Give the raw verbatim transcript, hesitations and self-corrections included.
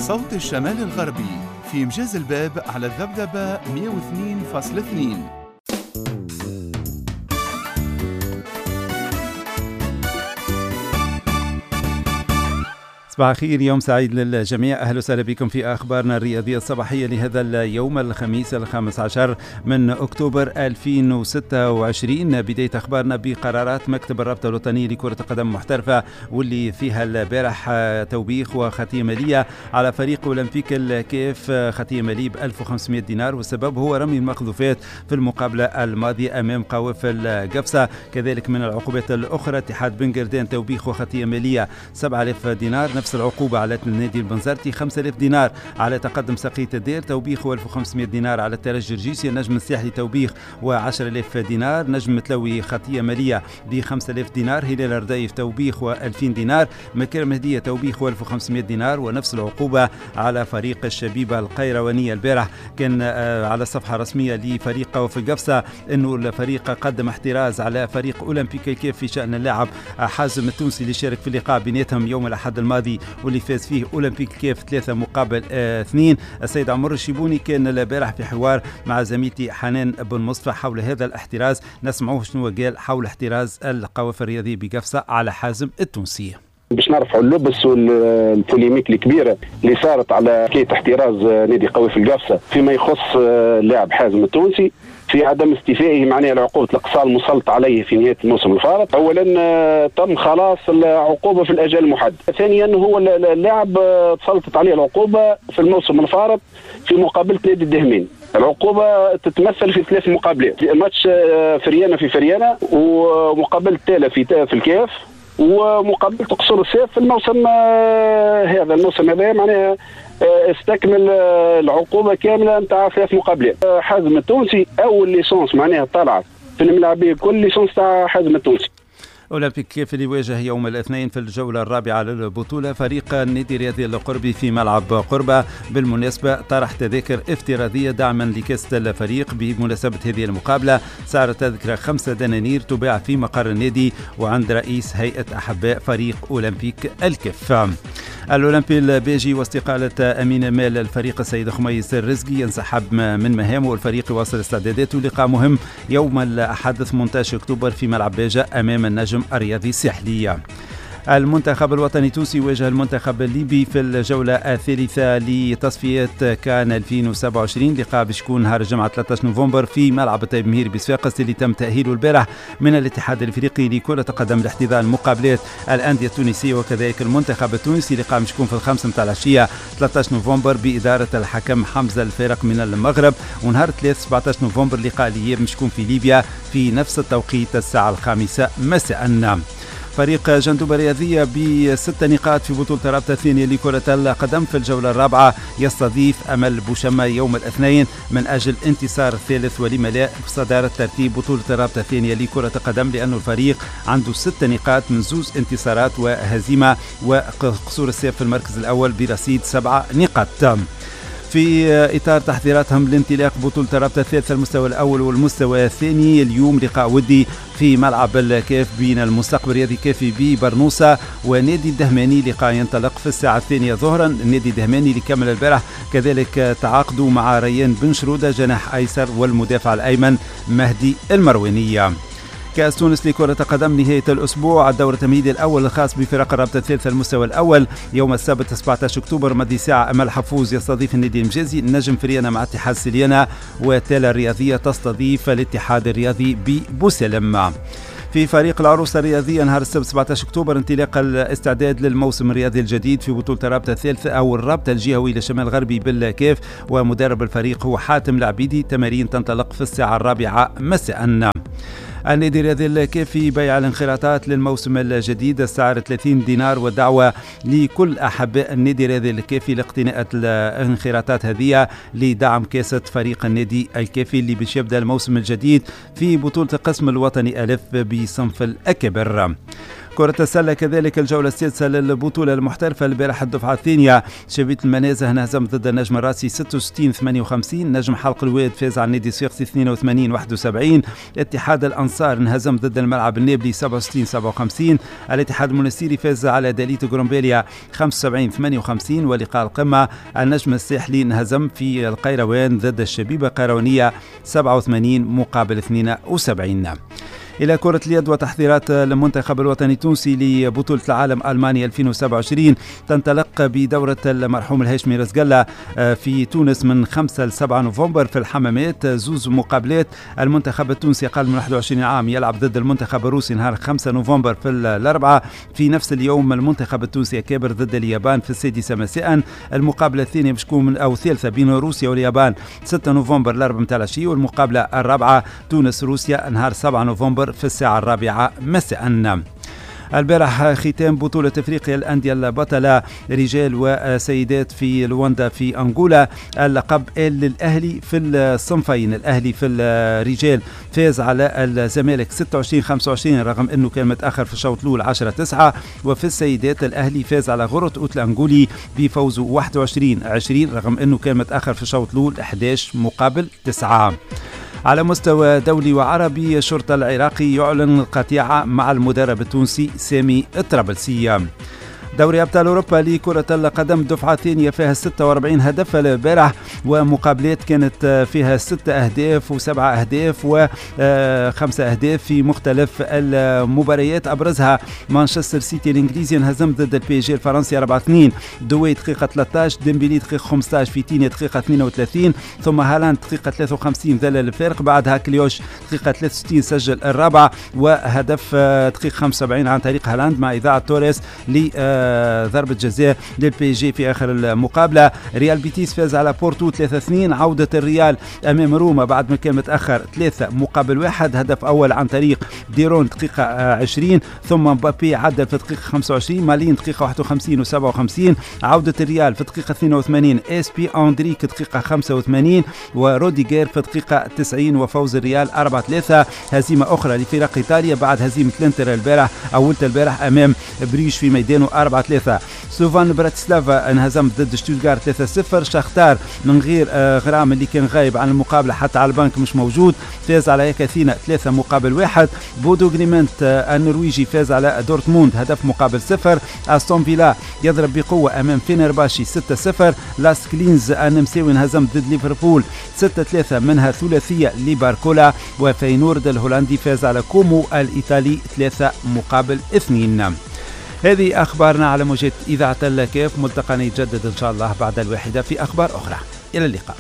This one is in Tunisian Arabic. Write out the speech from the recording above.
صوت الشمال الغربي في مجاز الباب على الذبذبة مئة واثنين فاصلة اثنين. صباح الخير، يوم سعيد للجميع. أهلا وسهلا بكم في أخبارنا الرياضية الصباحية لهذا اليوم الخميس الخامس عشر من أكتوبر ألفين وستة وعشرين. بداية أخبارنا بقرارات مكتب الرابطة الوطنية لكرة القدم المحترفة واللي فيها البارح توبيخ وخطية مالية على فريق أولمبيك الكاف، خطية مالية ب ألف وخمسمئة دينار، والسبب هو رمي المقذوفات في المقابلة الماضية أمام قوافل قفصة. كذلك من العقوبات الأخرى اتحاد بن قردان توبيخ وخطية مالية سبعة آلاف دينار، نفس العقوبة على النادي البنزرتي خمسة آلاف دينار، على تقدم سقية الدير توبيخ وألف وخمسمئة دينار، على الترجي الجرجيسي النجم الساحلي توبيخ وعشرة آلاف دينار، نجم متلوي خطية مالية ب خمسة آلاف دينار، هلال الرديف توبيخ وألفين دينار، مكرم هدية توبيخ وألف وخمسمئة دينار، ونفس العقوبة على فريق الشبيبة القيروانية. البارح كان على الصفحة الرسمية لفريق قوافل قفصة أنه الفريق قدم احتراز على فريق أولمبيك الكاف في شأن اللاعب حازم التونسي اللي شارك في اللقاء بيناتهم يوم الأحد الماضي واللي فاز فيه أولمبيك الكاف ثلاثة مقابل اثنين. السيد عمر الشيبوني كان البارح في حوار مع زميلتي حنان بن مصطفى حول هذا الاحتراز، نسمعوه شنو قال حول احتراز القوافل الرياضية بقفصة على حازم التونسي. باش نرفعوا اللبس وال polémique الكبيرة اللي صارت على حكاية احتراز نادي قوافل قفصه فيما يخص اللاعب حازم التونسي في عدم استيفائه معناها العقوبة الاقصاء المسلط عليه في نهاية الموسم الفارط. اولا تم خلاص العقوبة في الاجال المحدد، ثانيا هو اللاعب تسلطت عليه العقوبة في الموسم الفارط في مقابله نادي الدهمين. العقوبة تتمثل في ثلاث مقابلات، ماتش فريانه في فريانه، ومقابله تالا في في الكاف، ومقابله قصور السيف في الموسم هذا. الموسم هذا معناها استكمل العقوبة كاملة نتاع ثلاث مقابلات. حازم التونسي اول licence معناها طلعت في الملاعبيه كل licence تاع حازم التونسي. أولمبيك كيف اللي يواجه يوم الاثنين في الجولة الرابعة للبطولة فريق النادي الرياضي القربي في ملعب قربة. بالمناسبة طرح تذاكر افتراضية دعما لكاس الفريق بمناسبة هذه المقابلة. سعر التذكرة خمسة دنانير تباع في مقر النادي وعند رئيس هيئة أحباء فريق أولمبيك الكف. الأولمبي البيجي واستقالة أمين مال الفريق السيد خميس الرزقي ينسحب من مهامه، والفريق يواصل استعداداته لقاء مهم يوم الأحد ثمانية عشر أكتوبر في ملعب باجة أمام النجم الرياضي الساحلي. المنتخب الوطني التونسي يواجه المنتخب الليبي في الجولة الثالثة لتصفيات كان ألفين وسبعة وعشرين، لقاء باش يكون نهار الجمعة ثلاثة عشر نوفمبر في ملعب الطيب مهير بصفاقس اللي تم تأهيله البارح من الاتحاد الافريقي لكرة القدم لاحتضان مقابلات الأندية التونسية وكذلك المنتخب التونسي. لقاء باش يكون في الخمسة متاع العشية ثلاثة عشر نوفمبر بإدارة الحكم حمزة الفارق من المغرب، ونهار ثلاثة سبعة عشر نوفمبر لقاء الإياب باش يكون في ليبيا في نفس التوقيت الساعة الخامسة مساء. فريق جندوبة الرياضية بست نقاط في بطولة الرابطة الثانية لكرة القدم في الجولة الرابعة يستضيف أمل بوشمة يوم الاثنين من أجل انتصار الثالث ولما لا صدارة ترتيب بطولة الرابطة الثانية لكرة القدم، لأن الفريق عنده ست نقاط من زوز انتصارات وهزيمة، وقصور السيف في المركز الأول برصيد سبعة نقاط. في إطار تحضيراتهم لانطلاق بطولة الرابطة الثالثة المستوى الأول والمستوى الثاني، اليوم لقاء ودي في ملعب الكاف بين المستقبل الرياضي كافي ببرنوسة ونادي الدهماني، لقاء ينطلق في الساعة الثانية ظهرا. النادي الدهماني اللي كمل البارح كذلك تعاقدوا مع ريان بن شرودة جناح أيسر والمدافع الأيمن مهدي المروانية. كأس تونس لكرة القدم نهاية الأسبوع الدور التمهيدي الأول الخاص بفرق الرابطة الثالثة المستوى الأول يوم السبت سبعة عشر أكتوبر ماضي ساعة أمل حفوز يستضيف النادي المجازي، النجم فريانة مع اتحاد سليانة، وتالا الرياضية تستضيف الاتحاد الرياضي ببوسلم. في فريق العروسة الرياضية نهار السبت سبعة عشر أكتوبر انطلاق الاستعداد للموسم الرياضي الجديد في بطولة الرابطة الثالثة أو الرابطة الجهوي للشمال الغربي بالكاف، ومدرب الفريق هو حاتم العبيدي. تمارين تنطلق في الساعة الرابعة مساء. النادي الرياضي الكافي بيع الانخراطات للموسم الجديد السعر ثلاثين دينار، والدعوة لكل أحباء النادي الرياضي الكافي لاقتناء الانخراطات هذه لدعم كاسة فريق النادي الكافي اللي باش يبدأ الموسم الجديد في بطولة القسم الوطني ألف بصنف الأكبر. كرة السلة كذلك الجولة السادسة للبطولة المحترفة البارح الدفعة الثانية، شبيبة المنازه انهزم ضد النجم الراسي ستة وستين ثمانية وخمسين، نجم حلق الواد فاز على النادي الصفاقسي اثنين وثمانين واحد وسبعين، اتحاد الأنصار انهزم ضد الملعب النابلي سبعة وستين سبعة وخمسين، الاتحاد المنستيري فاز على داليت غرومبيليا خمسة وسبعين ثمانية وخمسين، ولقاء القمة النجم الساحلي انهزم في القيروان ضد الشبيبة القيروانية سبعة وثمانين مقابل اثنين وسبعين. إلى كرة اليد وتحضيرات المنتخب الوطني التونسي لبطولة العالم ألمانيا ألفين وسبعة وعشرين تنطلق بدورة المرحوم الهاشمي رزقلة في تونس من خمسة لسبعة نوفمبر في الحمامات، زوز مقابلات. المنتخب التونسي أقل من واحد وعشرين عام يلعب ضد المنتخب الروسي نهار خمسة نوفمبر في الأربعة. في نفس اليوم المنتخب التونسي كابر ضد اليابان في السادسة مساء. المقابلة الثانية باش تكون أو الثالثة بين روسيا واليابان ستة نوفمبر الأربعة متاع العشية، والمقابلة الرابعة تونس روسيا نهار سبعة نوفمبر في الساعة الرابعة مساء. البارح ختام بطولة افريقيا الأندية البطلة رجال وسيدات في لواندا في أنغولا، اللقب للأهلي في الصنفين. الأهلي في الرجال فاز على الزمالك ستة وعشرين خمسة وعشرين رغم أنه كان متأخر في الشوط الأول عشرة تسعة، وفي السيدات الأهلي فاز على غرة أوت الأنغولي بفوزه واحد وعشرين عشرين رغم أنه كان متأخر في الشوط الأول أحد عشر مقابل تسعة. على مستوى دولي وعربي، الشرطة العراقي يعلن القطيعة مع المدرب التونسي سامي الطرابلسي. دوري أبطال أوروبا لكرة القدم دفعة ثانية فيها ستة وأربعين هدف البارح، ومقابلات كانت فيها ستة أهداف وسبعة أهداف وخمسة أهداف في مختلف المباريات. أبرزها مانشستر سيتي الإنجليزي انهزم ضد البي جي الفرنسي أربعة اثنين، دوي دقيقة ثلاثة عشر، ديمبيلي دقيقة خمسة عشر، فيتينيا دقيقة اثنين وثلاثين، ثم هالاند دقيقة ثلاثة وخمسين ذلل الفارق، بعدها كليوش دقيقة ثلاثة وستين سجل الرابع، وهدف دقيقة خمسة وسبعين عن طريق هالاند مع إذاعة توريس ل ضربة جزاء للبي جي في آخر المقابلة. ريال بيتيس فاز على بورتو ثلاثة اثنين، عودة الريال أمام روما بعد ما كان متأخر ثلاثة مقابل واحد، هدف أول عن طريق ديرون دقيقة عشرين، ثم مبابي عدل في دقيقة خمسة وعشرين، مالين دقيقة واحد وخمسين وسبعة وخمسين، عودة الريال في دقيقة اثنين وثمانين، اس بي أندريك دقيقة خمسة وثمانين، وروديجير في دقيقة تسعين، وفوز الريال أربعة ثلاثة. هزيمة أخرى لفرق إيطاليا بعد هزيمة الانتر البارح أولت البارح أمام بريش في ميدانه أربعة ثلاثة. سلوفان براتسلافا انهزم ضد شتوتغارت ثلاثة صفر. شختار من غير غرام اللي كان غايب عن المقابلة حتى على البنك مش موجود، فاز على اكاثينا ثلاثة مقابل واحد. بودو غريمنت النرويجي فاز على دورتموند هدف مقابل صفر. استون فيلا يضرب بقوة أمام فينرباشي ستة صفر. لاس كلينز النمساوي انهزم ضد ليفربول ستة ثلاثة منها ثلاثية لباركولا. وفينورد الهولندي فاز على كومو الإيطالي ثلاثة مقابل اثنين. هذه أخبارنا على موجات إذاعة الكاف. ملتقانا يتجدد إن شاء الله بعد الواحدة في أخبار أخرى. إلى اللقاء.